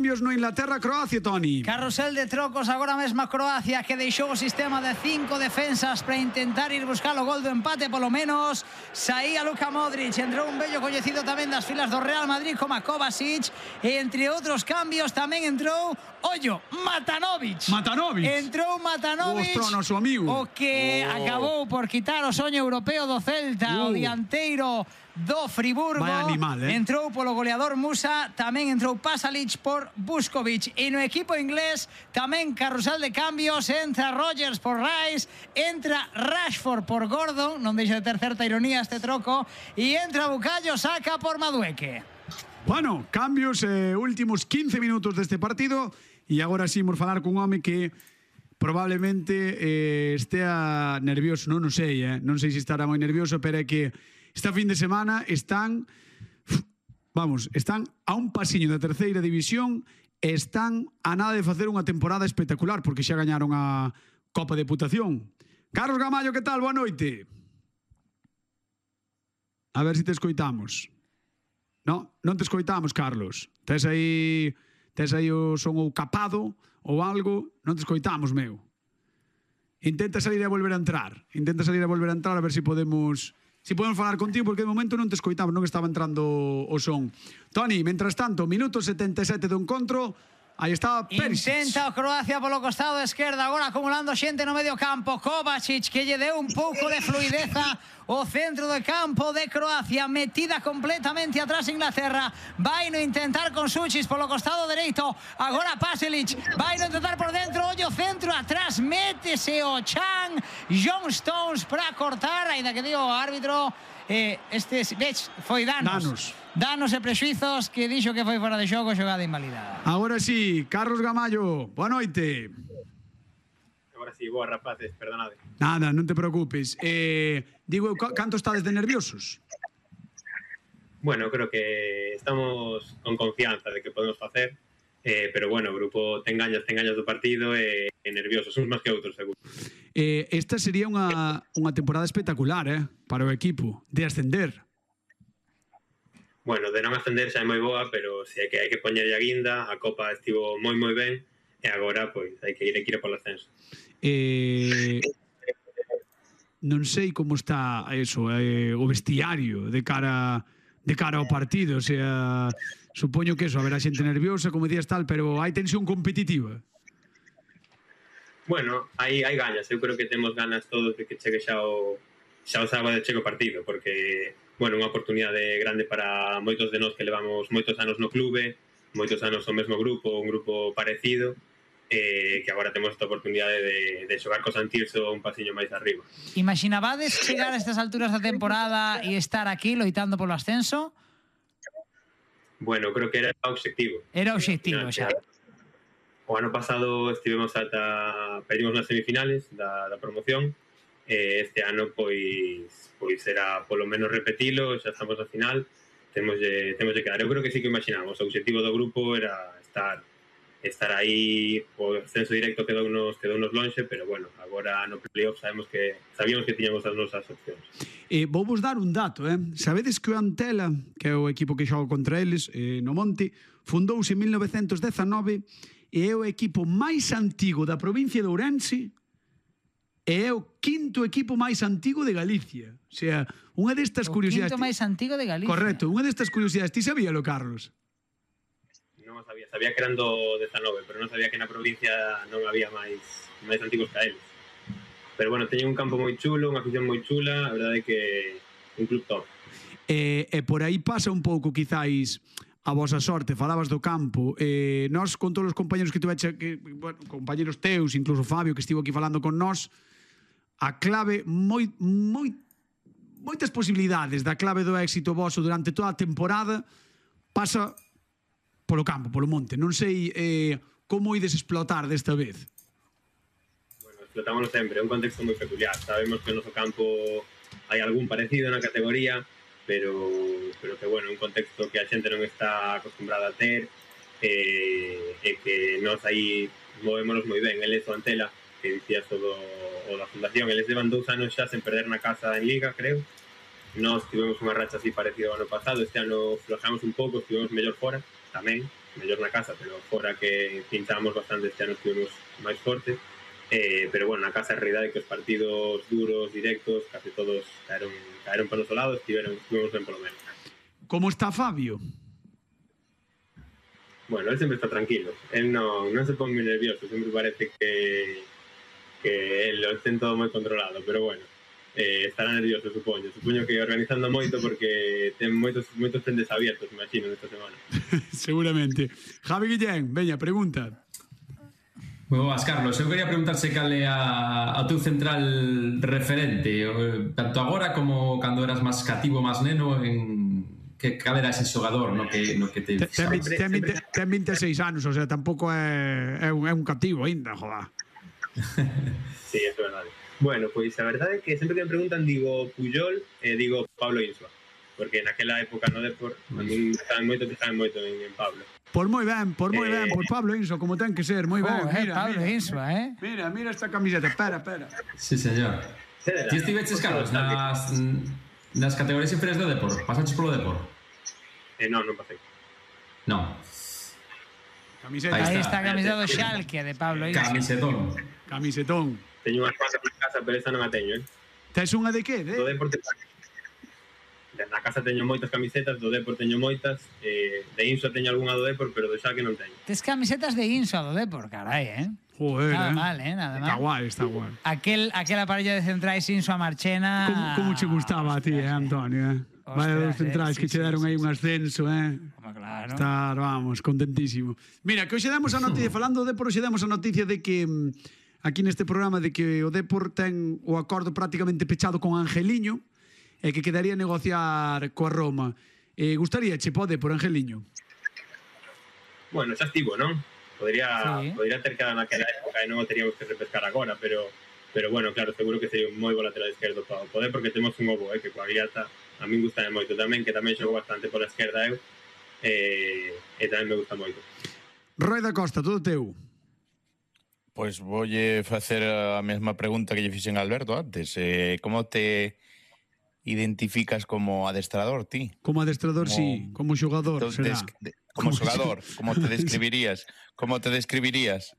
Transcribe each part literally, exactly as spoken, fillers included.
Cambios no Inglaterra-Croacia, Toni. Carrusel de trocos agora mesmo a Croacia, que deixou o sistema de cinco defensas para intentar ir buscar o gol do empate polo menos. Saía Luka Modric, entrou un vello coñecido tamén das filas do Real Madrid como a Kovacic, e entre outros cambios tamén entrou, ollo, Matanovic. Matanovic. Entrou Matanovic, Ostro, noso amigo. o que oh. acabou por quitar o soño europeo do Celta, uh. o dianteiro do Friburgo. Vai animal, eh? Entrou polo goleador Musa, tamén entrou Pasalic por Buscovic. E no equipo inglés tamén carrusel de cambios, entra Rodgers por Rice, entra Rashford por Gordon, non deixa de ter certa ironía este troco, e entra Bukayo Saka por Madueke. Bueno, cambios, eh, últimos quince minutos deste partido, e agora sí, imos falar cun home que probablemente eh, estea nervioso, non o sei, eh? non sei se estará moi nervioso, pero é que esta fin de semana están, vamos, están a un pasiño da terceira división e están a nada de facer unha temporada espectacular, porque xa gañaron a Copa Deputación. Carlos Gamallo, que tal? Boa noite. A ver se te escoitamos. No, non te escoitamos, Carlos. Tes aí, tes aí o son ou capado ou algo, non te escoitamos, meu. Intenta salir a volver a entrar. Intenta salir a volver a entrar a ver se podemos... Si podemos falar contigo, porque de momento non te escoitamos, non estaba entrando o son. Toni, mentras tanto, minuto setenta e sete do encontro, aí está Perisic. Intenta o Croacia polo costado esquerda, agora acumulando xente no medio campo. Kovacic, que lle deu un pouco de fluideza o centro de campo de Croacia, metida completamente atrás Inglaterra. Vai no intentar con Suchis polo costado dereito, agora Pasalic, vai no intentar por dentro, ollo centro atrás, métese o Chan, John Stones para cortar, ainda que digo o árbitro, eh, este, vech, foi danos. Danos. Danos e prexuizos, que dixo que foi fora de xogo, xogada invalidada. Agora sí, Carlos Gamallo, boa noite. Agora sí, boa rapaces, perdonade. Nada, non te preocupes. Eh, digo, canto estades de nerviosos? Bueno, creo que estamos con confianza de que podemos facer, eh, pero bueno, o grupo ten gañas, ten gañas do partido e, e nerviosos, uns máis que outros, seguro. Eh, esta sería unha, unha temporada espectacular, eh, para o equipo, de ascender. Bueno, de non ascender xa é moi boa, pero se hai que, hai que poñer a guinda, a Copa estivo moi moi ben, e agora, pois, hai que ir, hai que ir polo ascenso. Eh, non sei como está eso, eh, o vestiario de cara de cara ao partido, o sea, supoño que eso, haberá xente nerviosa, como decías tal, pero hai tensión competitiva. Bueno, hai, hai gañas, eu creo que temos ganas todos de que chegue xa o, xa o sábado chegue o partido, porque, bueno, unha oportunidade grande para moitos de nós que levamos moitos anos no clube, moitos anos o mesmo grupo, un grupo parecido, eh, que agora temos esta oportunidade de, de xogar co Santirso un pasiño máis arriba. Imaginabades chegar a estas alturas da temporada e estar aquí loitando polo ascenso? Bueno, creo que era o obxectivo. Era o obxectivo xa. O ano pasado estivemos ata perdimos nas semifinales da, da promoción, e este ano pois pois será polo menos repetilo, xa estamos na final, temos de, temos de quedar. Eu creo que sí que imaginamos, o obxectivo do grupo era estar estar aí, o ascenso directo quedounos quedounos lonxe, pero bueno, agora no playoff sabemos que sabíamos que tiñamos as nosas opcións. Eh, vou vos dar un dato, eh? Sabedes que o Antela, que é o equipo que xoga contra eles eh, no Monte, fundouse en mil novecentos dezanove e é o equipo máis antigo da provincia de Ourense e é o quinto equipo máis antigo de Galicia. O sea, unha destas o curiosidades... O quinto máis antigo de Galicia. Correcto, unha destas curiosidades. Ti sabíalo, Carlos? Non sabía, sabía que eran do dezanove, pero non sabía que na provincia non había máis máis antigos que a eles. Pero bueno, teñen un campo moi chulo, unha afición moi chula, a verdade é que un club top. E, e por aí pasa un pouco, quizáis, a vosa sorte. Falabas do campo. Eh, nós, con todos os compañeros que tuveche, que, bueno, compañeros teus, incluso Fabio, que estivo aquí falando con nós, a clave, moi, moi, moitas posibilidades da clave do éxito voso durante toda a temporada pasa polo campo, polo monte. Non sei eh, como ides explotar desta vez. Bueno, explotámoslo sempre, é un contexto moi peculiar. Sabemos que no noso campo hai algún parecido na categoría, pero, pero que, bueno, un contexto que a xente non está acostumbrada a ter, e, e que nós aí movémonos moi ben. Eles o Antela, que dicías o, do, o da fundación, eles levan dous anos xa sen perder na casa en Liga, creo. Nós tivemos unha racha así parecida ao ano pasado, este ano flojamos un pouco, estivemos mellor fora, tamén, mellor na casa, pero fora que pinchamos bastante este ano, estivemos máis fortes. Eh, pero bueno, na casa a realidade que os partidos duros, directos, casi todos caeron, caeron para o noso lado, estiveron, estivemos ben polo menos. Como está Fabio? Bueno, él sempre está tranquilo, él non, non se pon moi nervioso, sempre parece que, que él lo ten todo moi controlado, pero bueno, eh, estará nervioso, supoño. Supoño que organizando moito porque ten moitos, moitos frentes abiertos, imagino, nesta semana. Seguramente. Javi Guillén, veña, pregunta. Moi boas, Carlos. Eu quería preguntarse cal é a, a teu central referente, tanto agora como cando eras máis cativo, máis neno, en que cal era ese xogador no que, no que te... Ten, ten, ten, ten vinte e seis anos, o sea, tampouco é, é, un, é un cativo ainda, joda. Sí, é verdade. Bueno, pois a verdade é que sempre que me preguntan digo Puyol e eh, digo Pablo Insua, porque naquela época no Depor a mí estaban moito, estaban moito en, en Pablo. Por moi ben, por moi ben, por Pablo Insua, como ten que ser, moi ben. Oh, eh, mira, Pablo mira, Insua, eh. Mira, mira esta camiseta, espera, espera. Sí, señor. Ti estiveches, Carlos, nas, nas categorías inferiores do Depor? Pasaches polo Depor? Eh, non, non pasei. Non. Camiseta. Aí está a camiseta do Schalke de Pablo Insua. Camisetón. Camisetón. Teño unhas cuantas na casa, pero esta non a teño, eh. Tes unha de que? De? Do Depor te... Na casa teño moitas camisetas, do Depor teño moitas, eh, de Insua teño algunha do Depor, pero do Schalke non teño. Tes camisetas de Insua do Depor, carai, eh. Joder, Nada eh. mal, eh, nada mal. Está guai, está guai. Aquel, aquel aparello de centrais Insua Marchena... Como, como che gustaba a ti, eh, Antonio, eh? Vaya dos centrais eh, que sí, che deron sí, aí sí, un ascenso, eh? Como claro. Estar, vamos, contentísimo. Mira, que hoxe demos a noticia, falando do Depor, hoxe demos a noticia de que mm, aquí neste programa de que o Depor ten o acordo prácticamente pechado con Angeliño e que quedaría negociar coa Roma. Eh, gustaría che pode por Angeliño? Bueno, xa estivo, non? Podría, Sí. podría ter quedado naquela época e non o teríamos que repescar agora, pero pero bueno, claro, seguro que sería un moi bo lateral esquerdo para o poder, porque temos un ovo, eh, que coa Guiata a min gusta moito tamén, que tamén xogo bastante pola esquerda eu, e, e tamén me gusta moito. Roy da Costa, todo teu. Pois voulle facer a mesma pregunta que lle fixen a Alberto antes. Eh, como te identificas como adestrador, ti? Como adestrador, Como- sí. Como xogador, Entonces, será. des- de- como Como xogador, como te describirías? Como te describirías?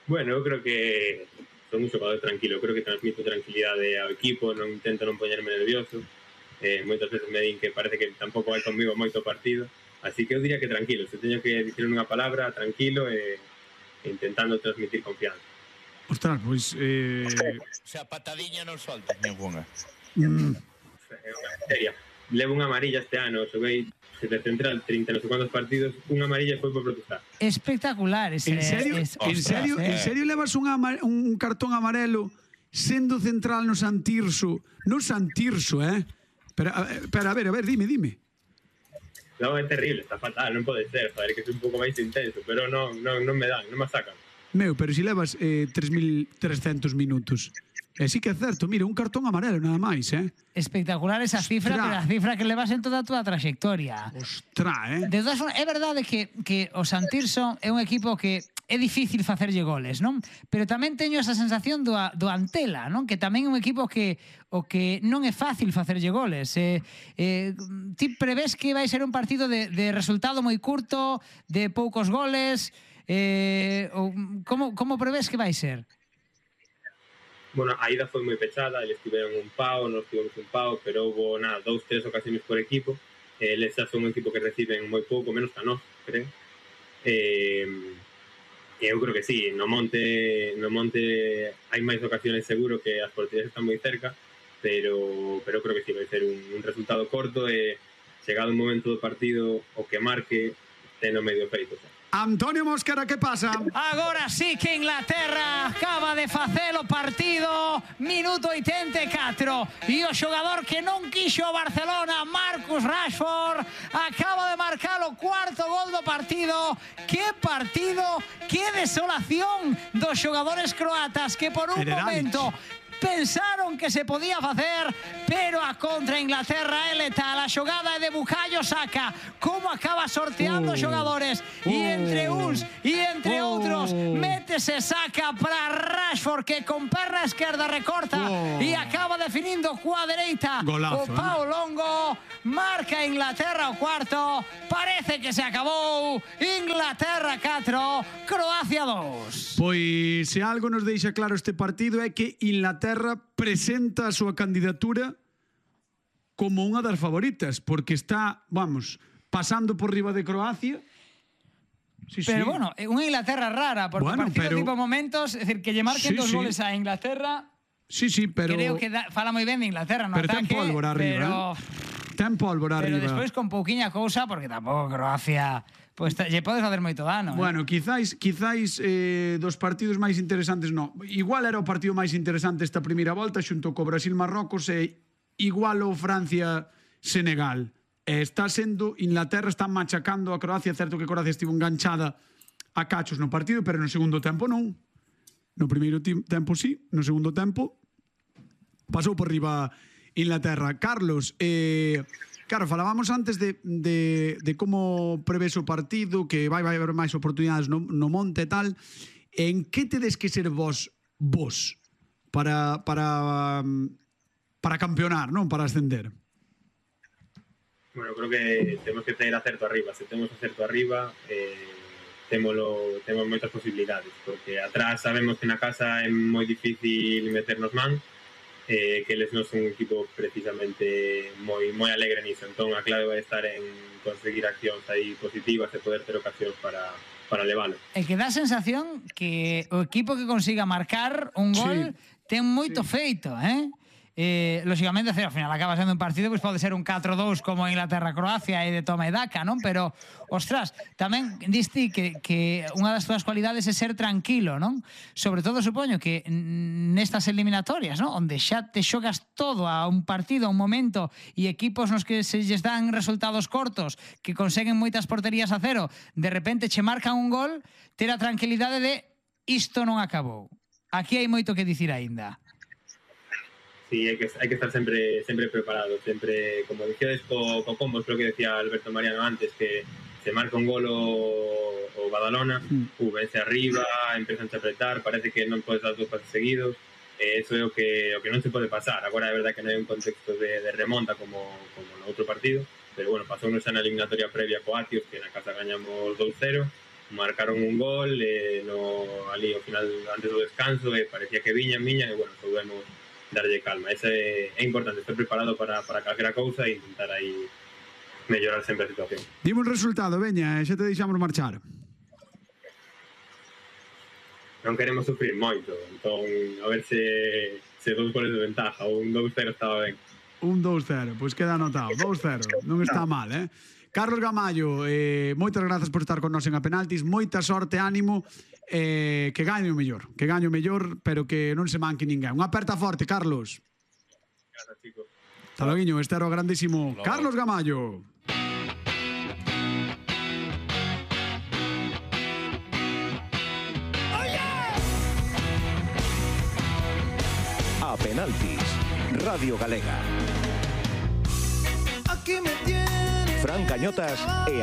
Bueno, eu creo que son un xogador tranquilo, creo que transmito tranquilidade ao equipo, non intento non poñerme nervioso, eh, moitas veces me din que parece que tampouco vai conmigo moito partido, así que eu diría que tranquilo, se teño que dicir unha palabra, tranquilo e e intentando transmitir confianza. Ostras, pois... Eh... O sea, patadiña non soltas ninguna. Mm, É unha seria. Levo unha amarilla este ano, xoguei de central trinta non sei cuantos partidos, unha amarilla foi por protestar. Espectacular ese... en serio, es- en Ostras, serio, eh. en serio levas un, ama- un cartón amarelo sendo central no Santirso, no Santirso, eh? Pero, a, pero a ver, a ver, dime, dime. Non, é terrible, está fatal, non pode ser, joder, que é un pouco máis intenso, pero non, non, non me dan, non me sacan. Meu, pero si levas eh, tres mil trescentos minutos. E sí que é certo, mira, un cartón amarelo nada máis, eh? Espectacular esa cifra, Ostras. pero a cifra que levas en toda a túa traxectoria. Ostra, eh? De todas formas, é verdade que, que o Santirso é un equipo que é difícil facerlle goles, non? Pero tamén teño esa sensación do, a- do Antela, non? Que tamén é un equipo que o que non é fácil facerlle goles. Eh, eh, ti prevés que vai ser un partido de, de resultado moi curto, de poucos goles, eh, ou, como, como prevés que vai ser? Bueno, a ida foi moi pechada, eles tiveron un pau, nós tivemos un pau, pero houve, nada, dous, tres ocasións por equipo. Eh, eles xa son un equipo que reciben moi pouco, menos que a nós, creo. Eh, e eu creo que sí, no Monte, no Monte hai máis ocasións seguro que as porterías están moi cerca, pero, pero creo que sí, vai ser un, un resultado corto e chegado un momento do partido o que marque ten o medio feito. Xa. Antonio Mosquera, que pasa? Agora sí que Inglaterra acaba de facer o partido, minuto oitenta e catro, e o xogador que non quixo o Barcelona, Marcus Rashford, acaba de marcar o cuarto gol do partido. Que partido, que desolación dos xogadores croatas que por un Federalic. momento pensaron que se podía facer, pero a contra Inglaterra é letal. A xogada é de Bukayo Saka, como acaba sorteando Oh. xogadores, e entre uns e entre Oh. outros métese Saka para Rashford, que con perna esquerda recorta Oh. e acaba definindo coa dereita. Golazo, O pau longo, marca Inglaterra o cuarto, parece que se acabou. Inglaterra catro, Croacia dos. Pois se algo nos deixa claro este partido é que Inglaterra presenta a súa candidatura como unha das favoritas, porque está, vamos, pasando por riba de Croacia. Sí, Pero sí. bueno, é unha Inglaterra rara, porque Bueno, o partido pero- tipo momentos, é dicir, que lle marquen Sí, dos sí. goles a Inglaterra, Sí, sí, pero creo que da, fala moi ben de Inglaterra no pero ten ataque, pólvora arriba, pero, ten pólvora pero arriba. despois con pouquiña cousa, porque tampouco Croacia, pues lle podes facer moito dano. Bueno, quizáis, quizáis eh, dos partidos máis interesantes, no. Igual era o partido máis interesante esta primeira volta xunto co Brasil-Marrocos e igual o Francia-Senegal. E está sendo, Inglaterra está machacando a Croacia, certo que Croacia estivo enganchada a cachos no partido, pero no segundo tempo non. No primeiro ti- tempo sí, no segundo tempo pasou por riba Inglaterra. Carlos, eh, claro, falábamos antes de, de, de como prevés o partido, que vai, vai haber máis oportunidades no, no monte e tal. En que tedes que ser vos vos para, para, para campeonar, non? Para ascender? Bueno, creo que temos que ter acerto arriba. Se temos acerto arriba, eh, témolo, temos moitas posibilidades, porque atrás sabemos que na casa é moi difícil meternos man, eh, que eles non son un equipo precisamente moi moi alegre niso. Entón a clave vai estar en conseguir accións aí positivas e poder ter ocasións para, para levalo. É que dá a sensación que o equipo que consiga marcar un gol Sí. ten moito feito, eh? Eh, lógicamente, ao final acaba sendo un partido, pois pode ser un catro dous como Inglaterra-Croacia e de toma e daca, non? Pero, ostras, tamén diste que, que unha das túas cualidades é ser tranquilo, non? Sobre todo, supoño que nestas eliminatorias, non? Onde xa te xogas todo a un partido, a un momento, e equipos nos que se lles dan resultados cortos, que conseguen moitas porterías a cero, de repente che marcan un gol, ter a tranquilidade de isto non acabou. Aquí hai moito que dicir aínda. Sí, hai que, hai que estar sempre sempre preparado, sempre, como dicíades co, co combos, creo que decía Alberto Mariano antes, que se marca un gol o, o Badalona, Mm. uh, vence arriba, empezan a apretar, parece que non podes dar dos pases seguidos, e eh, eso é o que, o que non se pode pasar. Agora é verdade que non hai un contexto de, de remonta como, como no outro partido, pero bueno, pasou xa na eliminatoria previa co Atios, que na casa gañamos dous cero, marcaron un gol, eh, no, ali ao final, antes do descanso, e eh, parecía que viñan, viñan, e bueno, soubemos darlle calma. Ese é importante, estar preparado para, para calquera cousa e intentar aí mellorar sempre a situación. Dimos resultado, veña, e xa te deixamos marchar. Non queremos sufrir moito, entón a ver se, se dous goles de ventaja, ou un dous cero estaba ben. Un dous cero, pois queda anotado. dous cero, non está mal, eh? Carlos Gamallo, eh, moitas grazas por estar con nós en A Penaltis, moita sorte, ánimo, eh, que gañe o mellor, que gañe o mellor, pero que non se manque ninguén. Unha aperta forte, Carlos. Gracias, chicos. Hasta logo, este era o grandísimo Logo. Carlos Gamallo. A Penaltis, Radio Galega. Fran Cañotas e